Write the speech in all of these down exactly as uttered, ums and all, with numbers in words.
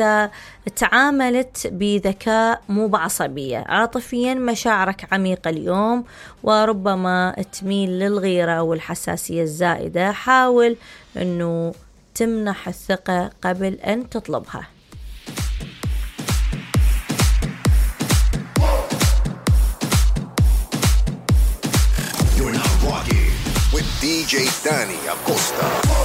إذا تعاملت بذكاء مو بعصبية. عاطفيا مشاعرك عميقة اليوم وربما تميل للغيرة والحساسية الزائدة. حاول أنه تمنح الثقة قبل أن تطلبها. You're now rocking with دي جي Danny Acosta.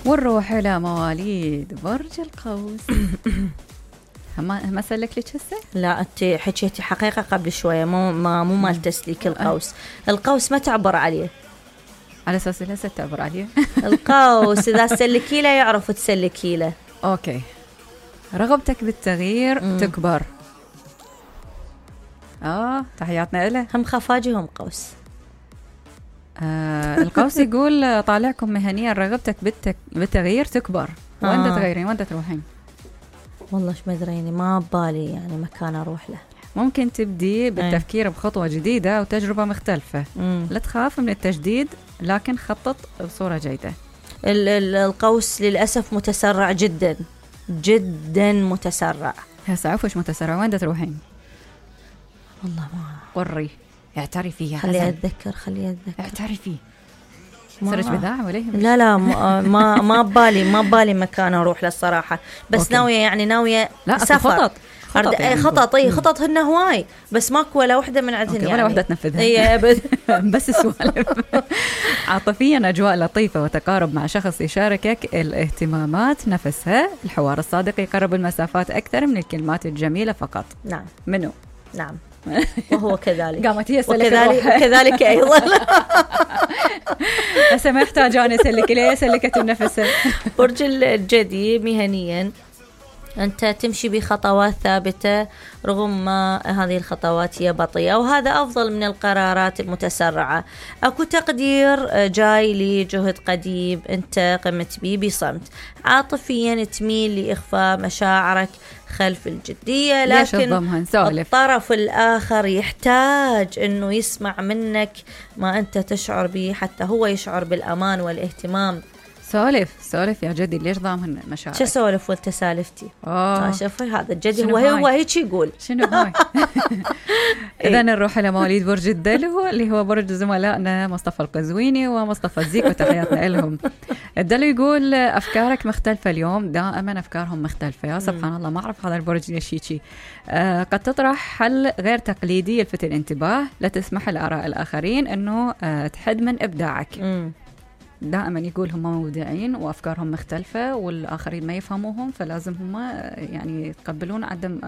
ونروح إلى مواليد برج القوس. ما ما سلك لك هسه؟ لا أنت حكيتي حقيقة قبل شوية مو ما مو مال تسليك القوس. القوس ما تعبر عليه على أساس هسه تعبر عليه. القوس إذا سلكي له يعرف تسلكي له. أوكي. رغبتك بالتغيير م. تكبر. آه تحياتنا له. هم خفاجي هم قوس. آه القوس يقول طالعكم مهنيا رغبتك بالتك... بالتغيير تكبر. آه. وين تغيرين وين تروحين؟ والله ايش مدريني ما ببالي يعني مكان اروح له. ممكن تبدي بالتفكير بخطوة جديدة وتجربة مختلفة. مم. لا تخاف من التجديد لكن خطط بصورة جيدة. ال- ال- القوس للأسف متسرع جدا جدا متسرع. هسه عفوش متسرع وين تروحين؟ والله ما وري اعترفي. خلي أتذكر خلي أتذكر اعترفي. سرج بذاعة ولا لا لا ما ما ببالي ما ببالي مكان أروح للصراحة. بس أوكي. ناوية يعني ناوية لا سفر. خطط خطط يعني خطط اي خطط هن هواي بس ماكو ولا وحده من عندهن يعني ولا وحده تنفذها. اي ابد. بس السوالف. عاطفيا اجواء لطيفه وتقارب مع شخص يشاركك الاهتمامات نفسها. الحوار الصادق يقرب المسافات اكثر من الكلمات الجميله فقط. نعم منو؟ نعم وهو كذلك. قامت هي وكذلك, وكذلك ايضا. هسه ما يحتاج انا اسلك ليه سلكت النفس. برج الجدي مهنيا أنت تمشي بخطوات ثابتة رغم ما هذه الخطوات هي بطيئة وهذا أفضل من القرارات المتسرعة. أكو تقدير جاي لجهد قديم أنت قمت به بصمت. عاطفيا تميل لإخفاء مشاعرك خلف الجدية لكن الطرف الآخر يحتاج أنه يسمع منك ما أنت تشعر به حتى هو يشعر بالأمان والاهتمام. سولف سولف يا جدي ليش ضامن مشاعرك؟ شو سولف وانت سالفتي؟ اه شوفي هذا الجدي هو هو هيك يقول. شنو هاي؟ اذا نروح الى مواليد برج الدلو اللي هو برج زملائنا مصطفى القزويني ومصطفى الزيك وتحياتنا لهم. الدلو يقول افكارك مختلفه اليوم. دائما افكارهم مختلفه. يا سبحان الله ما اعرف هذا البرج ليش هيك. آه قد تطرح حل غير تقليدي يلفت الانتباه. لا تسمح لاراء الاخرين انه آه تحد من ابداعك. م. دائما يقول هم مبدعين وأفكارهم مختلفة والآخرين ما يفهموهم فلازم هم يعني يتقبلون عدم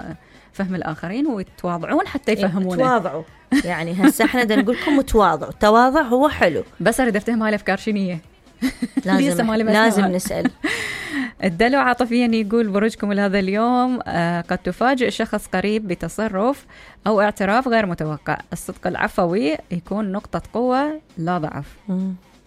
فهم الآخرين ويتواضعون حتى يفهمونه. يتواضعوا يعني هسه احنا بدنا نقول لكم تواضعوا. التواضع هو حلو بس أريد أفتهم هاي الأفكار شنية. لازم لازم نسأل. الدلو عاطفيا يقول برجكم لهذا اليوم آه قد تفاجئ شخص قريب بتصرف أو اعتراف غير متوقع. الصدق العفوي يكون نقطة قوة لا ضعف.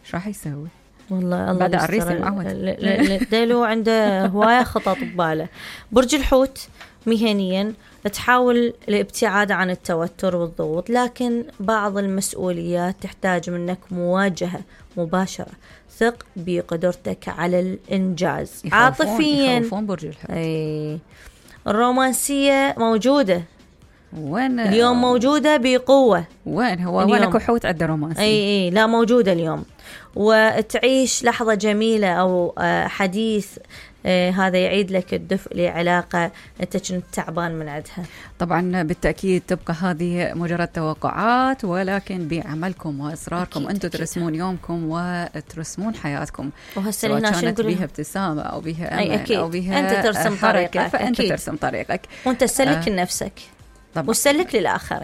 شو راح يسوي؟ والله الله بعد عريسي معود. الدلو عنده هواية خطط بباله. برج الحوت مهنيا تحاول الابتعاد عن التوتر والضغوط لكن بعض المسؤوليات تحتاج منك مواجهة مباشرة. ثق بقدرتك على الإنجاز. يخوفون عاطفيا يخوفون برج الحوت. أي الرومانسية موجودة وين اليوم موجودة بقوة. وين هو وين كحوت عنده رومانسية؟ اي اي لا موجودة اليوم. وتعيش لحظة جميلة أو حديث هذا يعيد لك الدفء لعلاقة أنت كنت تعبان من عندها. طبعا بالتأكيد تبقى هذه مجرد توقعات ولكن بعملكم وإصراركم أنتم ترسمون يومكم وترسمون حياتكم. وهسه هنا كانت بها ابتسامة أو بها أمل أي أو بها أنت ترسم طريقك فأنت أكيد. ترسم طريقك وأنت تسلك آه. لنفسك وسلك للآخر.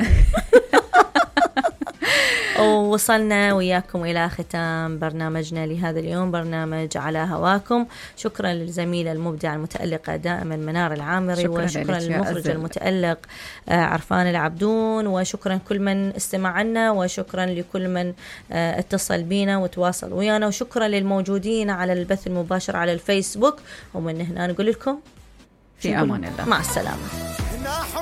ووصلنا وياكم إلى ختام برنامجنا لهذا اليوم برنامج على هواكم. شكرا للزميلة المبدعة المتألقة دائما منار العامري. شكرا وشكرا للمخرج المتألق عرفان العبدون. وشكرا كل من استمع لنا وشكرا لكل من اتصل بينا وتواصل ويانا. وشكرا للموجودين على البث المباشر على الفيسبوك. ومن هنا نقول لكم في أمان الله مع السلامة.